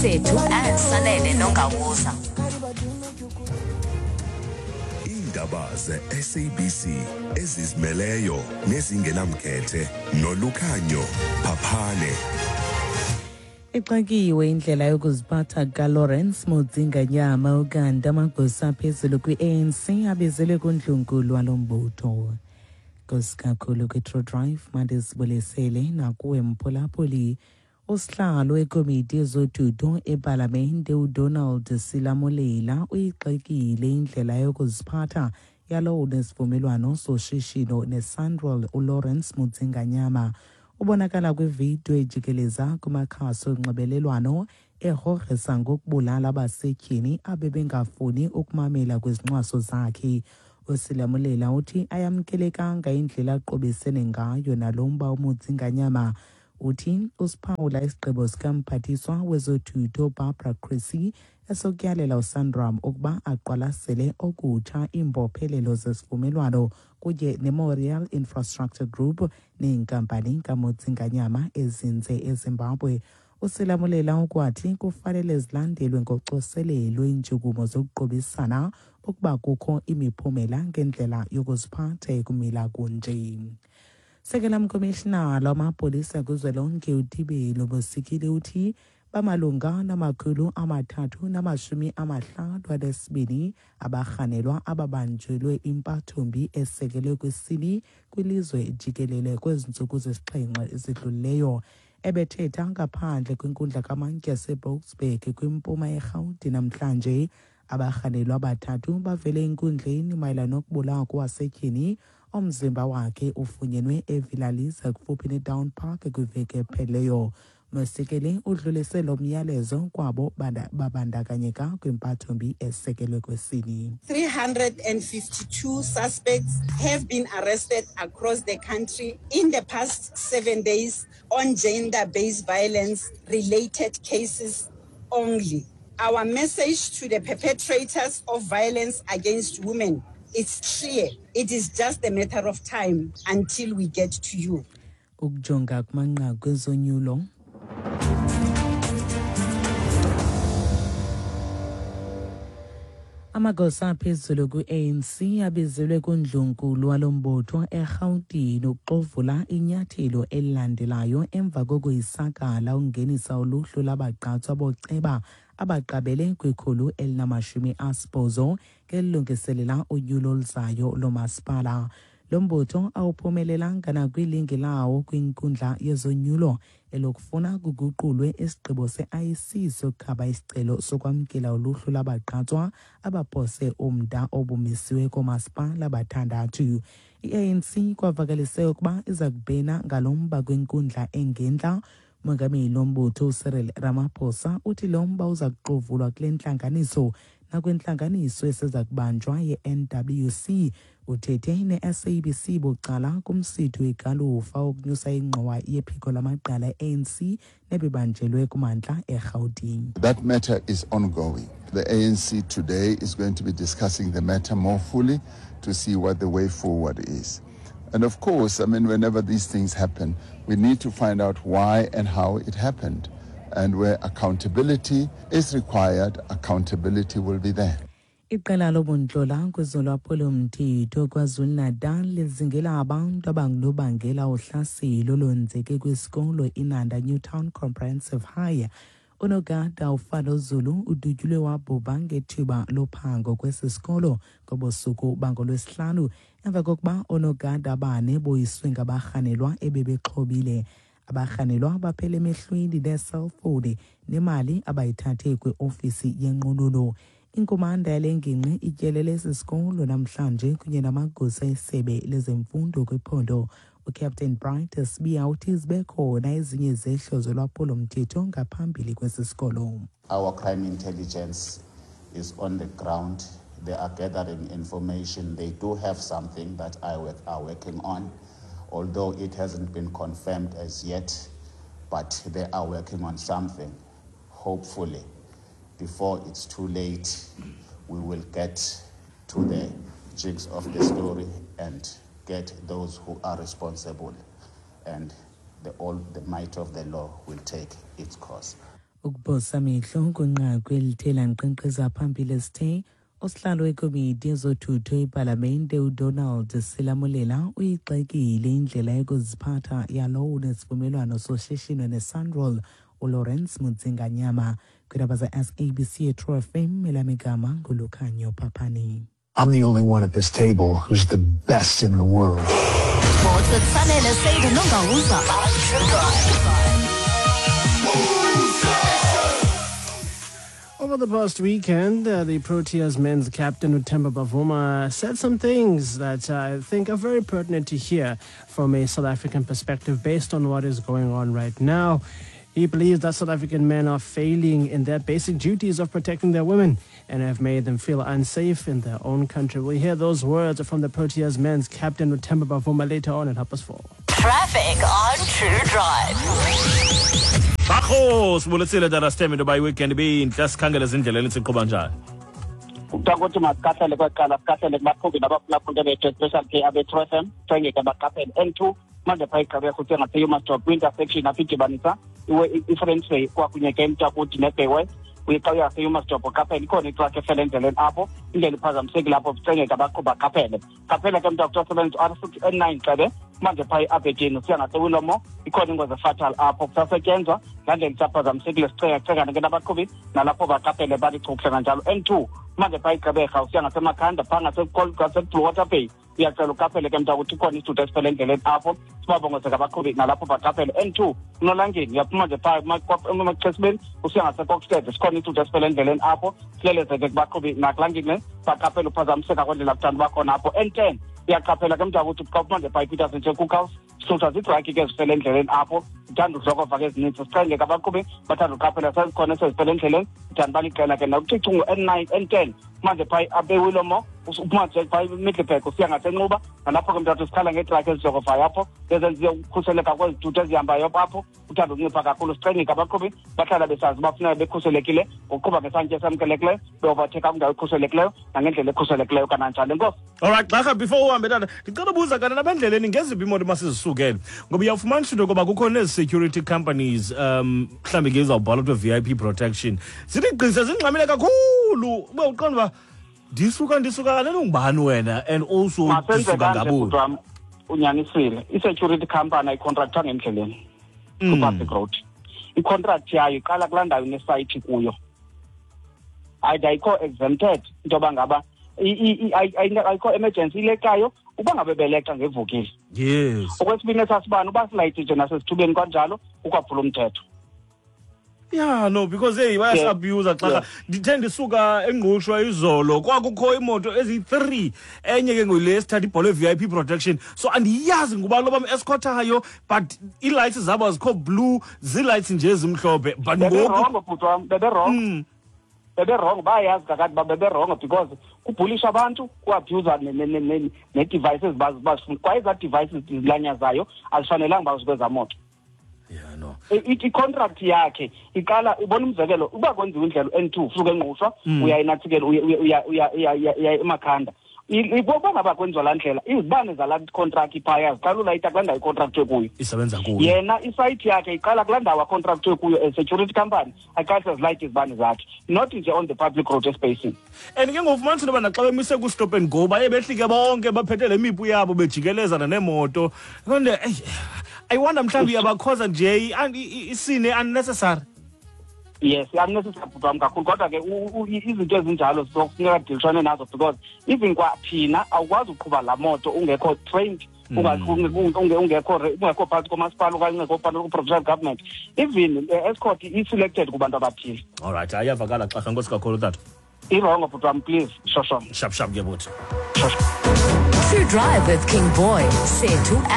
Sesethu Sanele Nongawuza. Iindaba ze-SABC ezizimeleyo nezingenamkhethe nolukhanyo Phaphane. Ixakiwe indlela yokuziphatha kaLawrence Mudzinganyama ukanti amagosa aphezulu kwi-ANC abizelwe kundlunkulu walo mbutho. Nkosi kakhulu kwi-True Drive mandisibulisele nakuwe mphulaphuli. Usihlalo wekomiti yezothutho epalamente uDonald Silamulela uyigxekile indlela yokuziphatha yalowo unesivumelwano soshishino neSanral uLawrence Mudzinganyama. Ubonakala kwividiyo ejikeleza kumakhasi onxibelelwano egrogrisa ngokubulala abasetyhini abebengafuni ukumamela kwizincwaso zakhe. USilamulela uthi ayamkelekanga indlela aqobisene ngayo nalo mba uMudzinganyama. Uthi usiphawula isigqibo sikamphathiswa wezothutho Barbara Creecy esokuyalela uSanram ukuba aqwalasele okutsha iimbophelelo zesivumelwano kunye neMemorial Infrastructure Group neenkampani kaMudzinganyama ezinze eZimbabwe. USilamulela ukwathi kufanele zilandelwe ngocoselelo iintshukumo zokuqubisana ukuba kukho imiphumela ngendlela yokuziphatha ekumila kunje. Sekela mkomishinala wamapolisa kuzwelonke uTibelo Bosikile uthi bamalunga na-352 abarhanelwa ababanjelwe impathombi esekelwe kwisini kwilizwe jikelele kwezi ntsuku zisixhenxe zidlulileyo. Ebethetha ngaphandle kwinkundla kamantyi yaseBoksburg kwimpuma yeRhawuti namhlanje. Abarhanelwa abathathu bavele enkundleni mayelana nokubulawa kowasetyhini omzimba wakhe ufunyenwe eVillaliza kufuphi neDown Park kwiveki ephelileyo. Mosikele udlulise lo myalezo kwabo babandakanyeka kwimpathombi esekelwe kwesini. 352 suspects have been arrested across the country in the past 7 days on gender-based violence related cases only. Our message to the perpetrators of violence against women is clear. It is just a matter of time until we get to you. Ukujonga kumanqaku ezonyulo. Amagosa aphezulu kwi-ANC abizelwe kundlunkulu walo mbutho eRhawutini ukuxovula inyathelo elilandelayo emva kokuyisakala ukungenisa uluhlu lwabagqatswa boceba abaqabele kwi-180 ngelilungiselela unyulo oluzayo lomasipala. Lo mbutho awuphumelelanga nakwilinge lawo kwinkundla yezonyulo elokufuna kuguqulwe isigqibo se-IEC sokukhaba isicelo sokwamkela uluhlu lwabagqatswa abaphose umda obumisiwe koomasipala abathandathu. I-ANC kwavakalise ukuba iza kubhena ngalo mba kwinkundla engentla. Umongameli wombutho uCyril Ramaphosa uthi lo mba uza kuxovulwa kule ntlanganiso nakwintlanganiso eseza kubanjwa ye-NWC. Uthethe ne-SABC bucala kumsitho wegalufa wokunyusa ingxowa yephiko lamagqala e-ANC nebibanjelwe kumantla eRhawutini. That matter is ongoing. The ANC today is going to be discussing the matter more fully to see what the way forward is. And of course, I mean, whenever these things happen, we need to find out why and how it happened. And where accountability is required, accountability will be there. Iqela lobuntlola kwezolwaphulomthetho KwaZulu-Natal lizingela abantu abangunobangela uhlaselo olwenzeke kwisikolo iNanda Newtown Comprehensive High. Unogada uFalo Zulu udutyulwe wabhubha ngethuba lophango kwesi sikolo ngobusuku bangolwesihlanu emva kokuba oonogada abane boyiswe ngabarhanelwa ebebexhobile. Abarhanelwa baphele emehlweni neeselfowuni nemali abayithathe kwiofisi yenqununu. Inkumanda yale ngingqi ityelele esi sikolo namhlanje kunye namagosa esebe lezemfundo kwiphondo. UCaptain Bright Sibiya uthi zibe khona ezinye izehlo zolwaphulomthetho ngaphambili kwesi sikolo. Our crime intelligence is on the ground. They are gathering information. They do have something that I are working on, although it hasn't been confirmed as yet, but they are working on something. Hopefully, before it's too late, we will get to the jigs of the story and get those who are responsible, and all the might of the law will take its course. Ukuphosa amehlo kwinqaku elithe lankqenkqeza phambili sithe usihlalo wekomiti yezothutho epalamente uDonald Selamolela uyigxekile indlela yokuziphatha yalowo unesivumelwano soshishino neSanral uLawrence Mudzinganyama. Kwiindaba ze-SABC eTrue FM, elamigama nguLukhanyo Phaphani. I'm the only one at this table who's the best in the world. Sports with Sanele Seydu Nongawuza. Over the past weekend, the Proteas men's captain Temba Bavuma said some things that I think are very pertinent to hear from a South African perspective based on what is going on right now. He believes that South African men are failing in their basic duties of protecting their women and have made them feel unsafe in their own country. We'll hear those words from the Proteas men's captain Temba Bavuma later on at 4:30. Traffic on True Drive. Bakho sibuletsile dara sithembe into yoba iweekend ibintle, sikhangele ezindleleni siqhuba njani. Kuthiwa masikahlele kweqala, sikahlele kubaqhubi nabaphulaphula bethu, especially ke abe-True FM, sengeke baqaphele. N2 manje phaa igqibeko kuthiwa ngase-Humansdorp kwi-intersection apho idibanisa i-Franschhoek kwakunye ke eMtakuti neBay West. Uye xa uya ngaseHumansdorp uqaphele, ikhona itrakhi efele endleleni apho, indlela iphazamisekile apho, kucengeka abaqhubi baqaphele. Qaphela ke mntu osebenzisa u-R6 N9 xebe manje phaa eAberdeen usiya ngaseWilomo, ikhona ingozi efatal apho, kusasetyenzwa laa ndlela isaphazamisekile, sicengacengane ke nabaqhubi nalapho baqaphele balichukuhle kanjalo. N2 manje phaa iGqeberha usiya ngaseMakhanda phaa ngaseBlue Water Bay, uyacela uqaphele ke mntu ukuthi ikhona isithuthi esifele endleleni apho, sibabongozeka abaqhubi nalapho baqaphele. N2 uNolangeni uyaphuma nje phaa emaXesibeni usiya ngaseKokstad, sikhona isithuthi esifele endleleni apho, silelezeke kubaqhubi nakulaa ngingqi baqaphele uphazamiseka kwendlela kuthanda uba khona apho. N10 uyaqaphela ke mntu ukuthi xa uphuma nje phaa iPeterson nje Cookhouse, sithutha ziitraki ke ezifele endleleni apho, zithanda udlokova ke ezininzi, sicengeke abaqhubi bathanda uqaphela, sezikhona esezifele endleleni, zithanda uba liqela ke nakucica N9 N10 manje phaa abeWilomo uphuma nje phaa eMiddelburg usiya ngaseNxuba, nalapho ke mntathu sikhala ngeetraki ezidlokovayo apho, ezenziwe ukukhuseleka kwezithuthi ezihambayo apho, uthanda ukuncipha kakhulu. Sicengeke abaqhubi bahlala besazi uba funeka bekhuselekile ngokuqhuba ngesantya esamkelekileyo, beovatheka kwindawo ekhuselekileyo nangendlela ekhuselekileyo kananjalo. Enkosi. Alright, Xarha, before uhambe tata, ndicela ubuza kanti nabendleleni ngeziphi iimoto masizisukele, ngoba uyawufumanisa into yokoba kukho nezi-security companies, mhlawumbi ke izawubhala kuthiwa VIP protection, zithi gqise zingxamile kakhulu, ube uqonda uba ndisuka kanene ungubani wena, and also Masenze ndisuka kanje, ngabuni. bhuti wam, unyanisile. I-security company ayikhontraktwanga endleleni kwi-public road. I-contract yayo iqala kulaa ndawo inesayithi kuyo. Ayikho exempted into yoba ngaba ayikho emergency ileqayo uba ngabe beleqa ngevukile. Okwesibini esasibani uba silayiti nje nasesithubeni kanjalo ukwaphula umthetho. Yeah, no, because hey, bayasi-abuse xa ndithe ndisuka eNgqushwa izolo kwakukho imoto eziyi-3, enye ke ngule sithatha ibhola ye-VIP protection, so andiyazi ngubani lo bam-escortayo, but ii-lights zabo azikho blue, zii-lights nje ezimhlophe, but ngoku Beberongo bhuti wam, beberongo. Beberongo, bayayazi kakade uba beberongo because kubhulisha abantu, kuabhuza nee-devices bazifuna. Kwaye ezaa devices zilanyazayo azifanelanga uba zikwezaa moto. Yeah, no. I-contract yakhe iqala, ubona umzekelo, uba kwenziwa indlela u-N2 usuka eNgqushwa, uya eNatsikelo, uya eMakhanda. Uba ngaba kwenziwa laa ndlela, izibane zalaa contract iphaya ziqala ulayita kulaa ndawo icontractwe kuyo. Isebenza kuyo. Yena isayithi yakhe iqala kulaa ndawo acontractwe kuyo as security company, aqalise zilayite izibane zakhe, not nje on the public road espacing. And ke ngoku ufumanisa into yoba naxa bemise ku-stop and go, baye behlike bonke baphethe le mipu yabo bejikelezana neemoto. Konde, eyi, I wonder mhlawumbi iyabakhoza nje isine unnecessary. Yes, unnecessary bhuti wam kakhulu, kodwa ke izinto ezinjalo kufuneka kudilishwane nazo because even kwathina awukwazi uqhuba laa moto ungekho trained, ungekho phantsi komasipala okanye ungekho phantsi ko-provincial government. Even escort i-selected kubantu abathile. All right, ayavakala Xarha, enkosi kakhulu tata. Irongo bhuti wam, please, shosho. Shap shap ke bhuti. Shosho. True Drive with King Boy, Sethu and